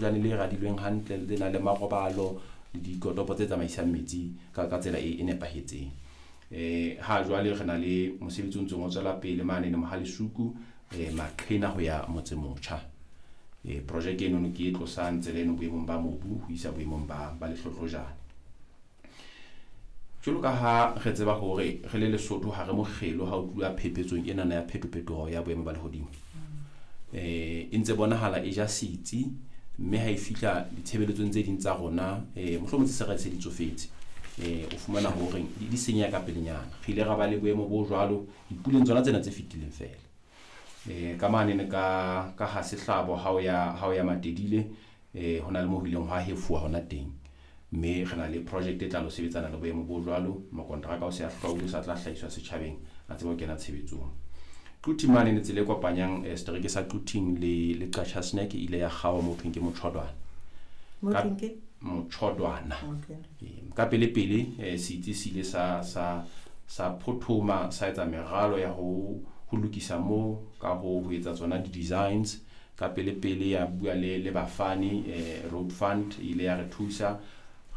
Jane le radilweng hantle le nang le marobalo le dikotopo tse tsamaisang metsi ka tsela e nepahetseng. Ha jwale re na le mosebetsi o ntseng o tswela pele mane le Mohalesuku, Maqhena ho ya Motsemotjha. Projeke eno ke e tlosang tsela eno boemong ba mobu ho isa boemong ba lehlohlojane. Jwalo ka ha re tseba hore re le Lesotho ha re mokgelo ha o tluwa phepetsong enana ya phetophetoho ya boemo ba lehodimo. E ntse bonahala e ja setsi, mme ha e fihla ditshebeletsong tse ding tsa rona, mohlomong tse se re se di tsofetse, o fumana hore di senyeha ka pelenyana. Re ile ra ba le boemo bo jwalo dipuleng tsona tsena tse fetileng feela. Ka mane ka ha sehlabo ha o ya Matedile, ho na le moo ho ileng hwa hefuwa hona teng. Mme re na le project e tla lo sebetsana le boemo bo jwalo. Mokonteraka o se a hlwailwe, o sa tla hlahiswa setjhabeng, a tsebe ho kena tshebetsong. Quthing mane ne tsela e kopanyang setereke sa Quthing le Qacha's Nek e ile ya kgaoha mo thweng ke Motjhodwana. Motjhodwana. Ka pele pele setsi se ile sa phothoma, sa etsa meralo ya ho lokisa moo ka ho etsa tsona di-designs. Ka pele pele ya bua le bafani, Road Fund ile ya re thusa,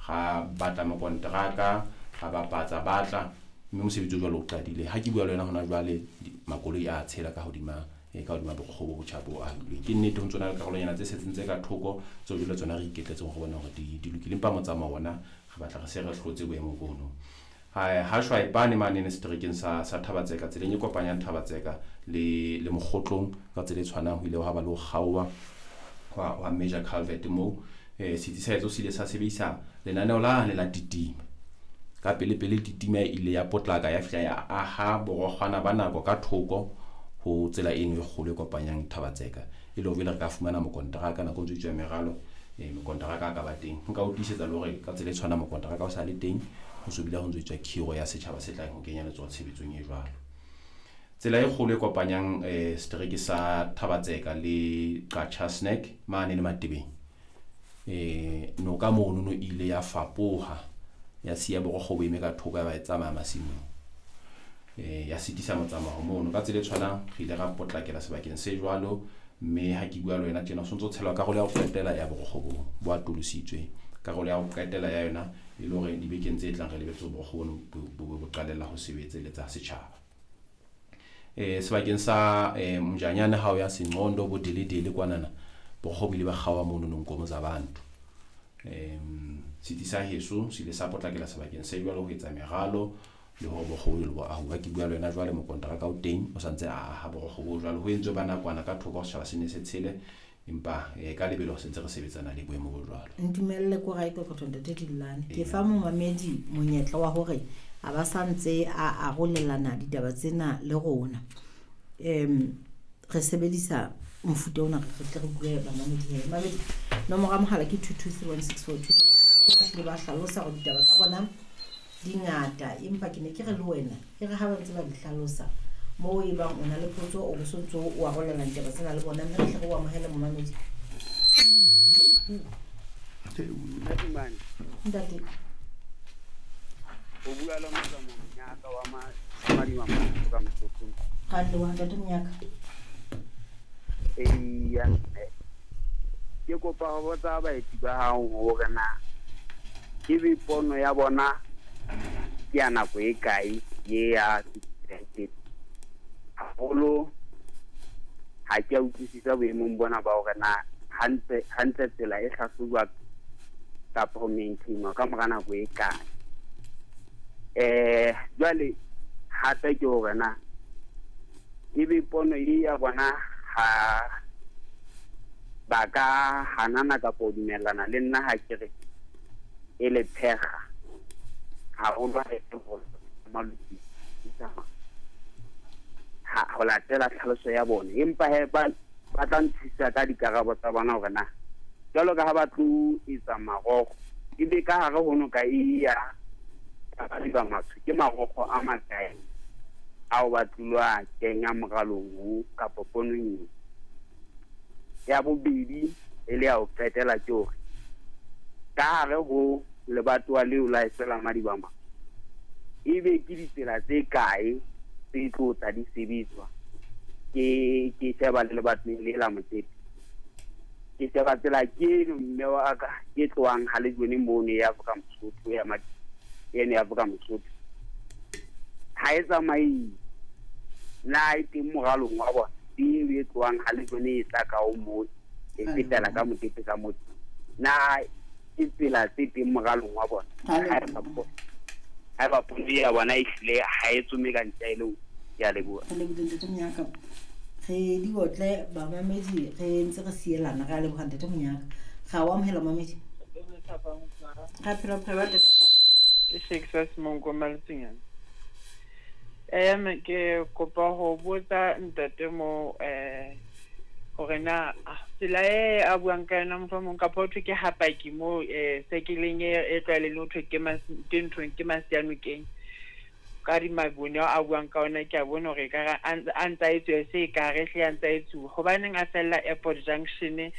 ra batla mokonteraka, ra bapatsa batla, mme mosebetsi o jwalo o qadile. Ha ke bua le wena hona jwale, makoloi a tshela ka hodima bokgobo bo botjha bo ahilweng. Ke nnete ho ntso na le karolonyana tse setseng tse ka thoko tseo jwale tsona re iketletseng ho bona hore di lokile, empa motsamao ona re batla re se re hlotse boemo bono. Ha Shwaepane mane ne seterekeng sa Thabatseka, tseleng e kopanyang Thabatseka le Mokgotlong, ka tsela e tshwanang ho ile hwa ba le ho kgaoha hwa major culvert moo. Setsi sa etso se ile sa sebedisa lenaneo lane la titima. Ka pele pele titima e ile ya potlaka ya fihla ya aha borokgwana ba nako ka thoko ho tsela eno e kgolo e kopanyang Thabatseka, e le hore jwale re ka fumana mokonteraka nako ntse tswa meralo, mokonteraka a ka ba teng. Nka o tiisetsa le hore ka tsela e tshwanang mokonteraka o sa le teng, ho so bile ho ntso etswa khiro ya setjhaba se tlang ho kenya letsoho tshebetsong e jwalo. Tsela e kgolo e kopanyang setereke sa Thabatseka le Qacha's Nek mane le Matebeng, noka mono no ile ya fapoha, ya siya borokgo bo eme ka thoko, ya ba e tsamaya masimong, ya sitisa motsamao mono. Ka tsela e tshwanang re ile ra potlakela sebakeng se jwalo, mme ha ke bua le wena tjena ho sontso tshelwa karolo ya ho qetela ya borokgo bo atolositswe. Karolo ya ho qetela ya yona e le hore dibekeng tse tlang re lebetse borokgo bono bo qalella ho sebetseletsa setjhaba. Sebakeng sa Mojanyane ha o ya Senqondo bo Deledele kwanana, borokgo bo ile ba kgaoha mono Nkomo tsa bantu. Setsi sa heso se ile sa potlakela sebakeng se jwalo ho etsa meralo le hore borokgo bo bo ahuwa. Ke bua le wena jwale mokonteraka o teng o santse a aha borokgo bo jwalo, ho entswe ba nakwana ka thoko setjhaba se ne se tshele, empa ka lebelo re sentse re sebetsana le boemo bo jwalo. Ntumelle ko rae Kokoto Ntate Dillane. Ke fa momamedi monyetla wa hore a ba santse a arolelana ditaba tsena le rona. Re sebedisa mofuta ona re tle re bue bamamedi he. Mamedi, nomoro ya mohala ke 2231642. Ba hlile ba hlalosa hore ditaba tsa bona di ngata, empa ke ne ke re le wena e re ha ba ntse ba di hlalosa moo e bang o na le potso o bo sontso o arolelana ditaba tsena le bona, mme re tle re o amohele momamedi. Ntate. O bua le Motsamao Monyaka wa Madima ka Motsotsong. Ra leboha Ntate Monyaka. Eya, ke kopa ho botsa baeti ba hao hore na ebe pono ya bona ke ya nako e kae ye ya haholo. Ha ke a utlwisisa boemong bona ba hore na hantle tsela e hlahlojwa kapa ho maintainwa ka mora nako e kae. Jwale hape ke hore na ebe pono e ya bona ha ba ka hanana kapa ho dumellana le nna ha ke re e le phekga haholo ha e le hore ha ho latela tlhaloso ya bona, empa he ba tla nthusa ka dikarabo tsa bona hore na jwalo ka ha ba tlo etsa marokgo ebe ka hare ho noka e ya ba matsho ke marokgo a makae ao ba tlilwa kenya moralong o kapa ponong. Ya bobedi e le ya ho qetela ke hore ka hare ho lebatowa leo la Esela Madibama ebe ke ditsela tse kae tse tlo tla di sebetswa ke sheba le lebatoweng le la Motsepe. Ke sheba tsela ke eno mme wa ka e tlohang ha Lejone mono ya Afrika Mosotho ya eno ya Afrika Mosotho. Ha e tsamaye. Na e teng moralong wa bona. Eo e tlohang ha Lejone e tla ka o mo e fetela ka mokete ka motho. Na ke tsela tse teng moralong wa bona. Ha ba pono ya bona e hlile ha e tsome ka ntja e le ke a leboha. Re lebohile ntate Monyaka. Re di otle bamamedi re ntse re sielana re a leboha ntate Monyaka. Ga o amohela mamedi. Ra phela phela ba ntate. Ke Shakespeare Semonko Maletsunyane. Ke kopa ho botsa ntate mo hore na tsela e a buang ka yona mohlomong kapa ho thwe ke hapaki mo sekeleng e tlwaelehileng ho thwe ke ke nthong ke Masianokeng ka di mabone a buang ka ona ke a bona hore ekare a ntsa etsuwa se ekare hle a ntsa etsuwa. Hobaneng a fella airport junction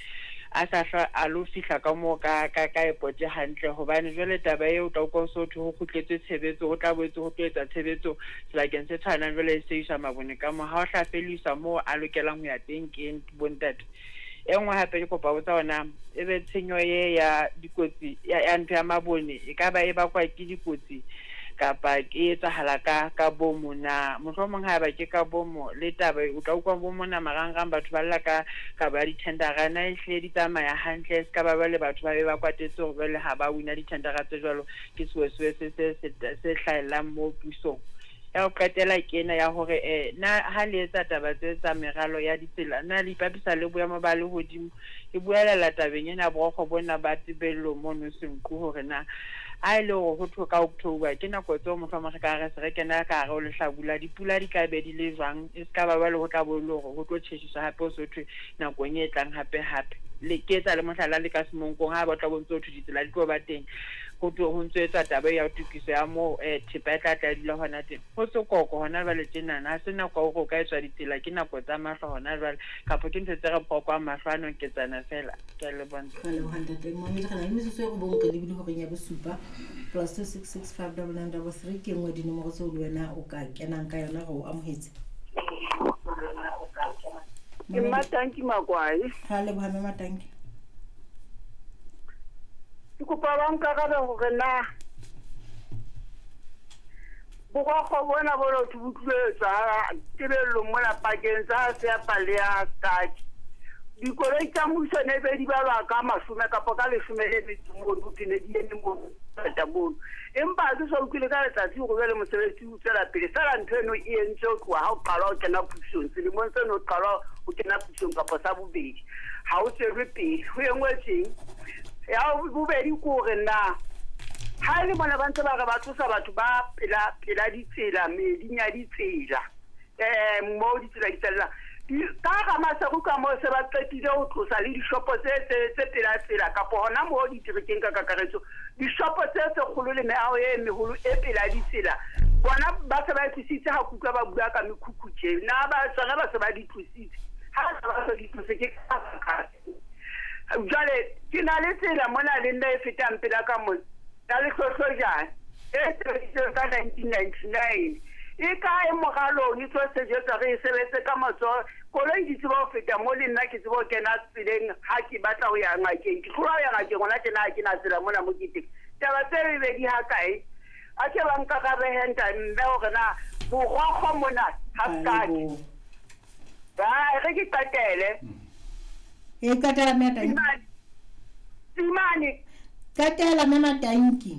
a sa hlwa a lo fihla ka moo ka ka ka airport hantle hobane jwale taba eo o tla utlwa ho so thwe ho kgutletswe tshebetso ho tla boetse ho tlo etsa tshebetso sebakeng se tshwanang jwale e se iswa mabone ka moo ha o hla fediswa moo a lokelang ho ya teng ke bontate. E nngwe hape ke kopa botsa hore ebe tshenyo ye ya dikotsi ya ntho ya mabone e ka ba e bakwa ke dikotsi kapa ke etsahala ka bomo na? Mohlomong haeba ke ka bomo le taba o tla utlwa bo mona marangrang batho ba lla ka kabo ya di-tendera na ehlile di tsamaya hantle se ka ba jwale batho ba be ba kwatetse hore jwale ha ba wina di-tendera tse jwalo ke sewesewe se hlahellang mo pusong. Ya ho qetela ke ena ya hore na ha le etsa taba tse tsa meralo ya ditsela na le ipapisa le boemo ba lehodimo? Ke buelela tabeng ena borokgo bona ba Tebello mono Senqu hore na a e le hore ho thwe ka October ke nako tseo mohlomong re ka re se re kena ka hare ho lehlabula dipula di tla be di le jwang e se ka ba jwale ho tla bo e le hore ho tlo tjheshiswa hape ho so thwe nakong e tlang hape hape. Le ke etsa le mohlala le ka Semonkong ha ba tla bo ntso thwe ditsela di tlo ba teng ho ho ntso etswa taba ya tokiso ya moo thepa e tla tla dula hona teng. Ho sekoko hona jwale tjenana ha se nako ya hore o ka etswa ditsela ke nako tsa mahlo hona jwale kapa ke ntho tse re phokwang mahlo a noketsana fela. Ke a leboha. Re leboha ntate Momedi re na le metsotso e robong re lebile horeng ya bosupa +266 59933 ke nngwe dinomoro tseo le wena o ka kenang ka yona re o amohetse. Ke Mmatanki Makwai. Ra leboha mme Matanki. Ke kopa ba nkarabe hore na borokgo bona bo lotho bo tlilo etswa Tebellong mona pakeng tsa Seapa le ya Staki. Dikoloi tsa mmuso ne be di balwa ka 10 kapa ka 18 mono ho thwe ne di eme mono ngata mono. Empa ha ke so utlwile ka letsatsi hore jwale mosebetsi o tswela pele. Feela ntho eno e entswe ho tloha ha o qalwa ho kena pusong. Selemong seno o qalwa ho kena pusong kapa sa bobedi. Ha o tswelwe pele. Ho e nngwe tjeng. Ya bobedi ke hore na ha e le mona ba ntse ba re ba tlosa batho ba pela pela ditsela meeding ya ditsela mo ditsela di fellang ka hara Maseru ka moo se ba qetile ho tlosa le dishopo tse tse tse pela tsela kapa hona moo diterekeng ka kakaretso dishopo tse tse kgolo le meaho e meholo e pela ditsela bona ba se ba e tlositse ha kutlwa ba bua ka mekhukhu tje na ba tsona ba se ba di tlositse ha ba se di tlose ke ka jwale ke na le tsela mona le nna e fetang pela ka mona ya Lehlohlojane e sebeditsweng ka 1999 e kae moralong e tlo sejetswa re e sebetse ka matsoho koloi di tseba ho feta mo le nna ke tseba ho kena tseleng ha ke batla ho ya ngakeng ke tloha ho ya ngakeng hona tjena ha ke na tsela mona mo ke teng taba tse bebedi ha kae a ke ba nkarabe nta mme hore na borokgo mona ha sekake ba re ke qetele E qetela mme Matanki. Tsimane Qetela mme Matanki.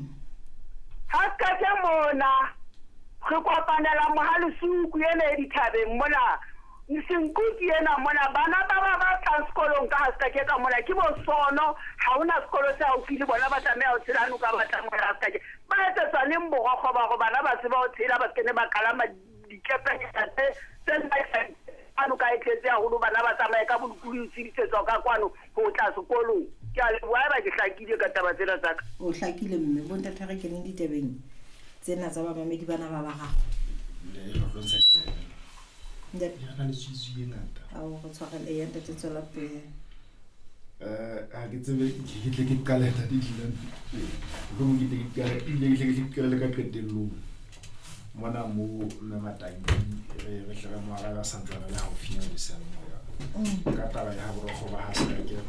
Ha sekake mona re kopanela Mohalesuku ena e dithabeng mona Senqu ke ena mona bana ba ba ba tlang sekolong ka ha sekake ka mona ke bosono ha hona sekolo se haufi le bona ba tlameha ho tshela noka ba tla mona ha sekake ba etsetswa neng borokgo ba hore bana ba tseba ho tshela ba se kene ba kalama dikepenyana tse tse noka e tletse haholo bana ba tsamaye ka bolokolohi ho tshedisetswa ka kwano ho tla sekolong. Ke a leboha haeba ke hlakile ka taba tsena tsa ka. O hlakile mme bontate re keneng ditabeng tsena tsa bamamedi bana ba bararo. Le re tlo ntsha ditsebe. Re na le tswitswi e ngata. Ao re tshwarele ya ntate tswela pele. Ha ke tsebe ke tle ke qale ntate Dylan. Mohlomong ke tle ke qale ebile ke tle ke qale ka qetellong. Mona mo mme Matanki re hle re mo arabe a santsane a le haufinyana le seyalemoya. Ka taba ya ha borokgo ba ha Sekake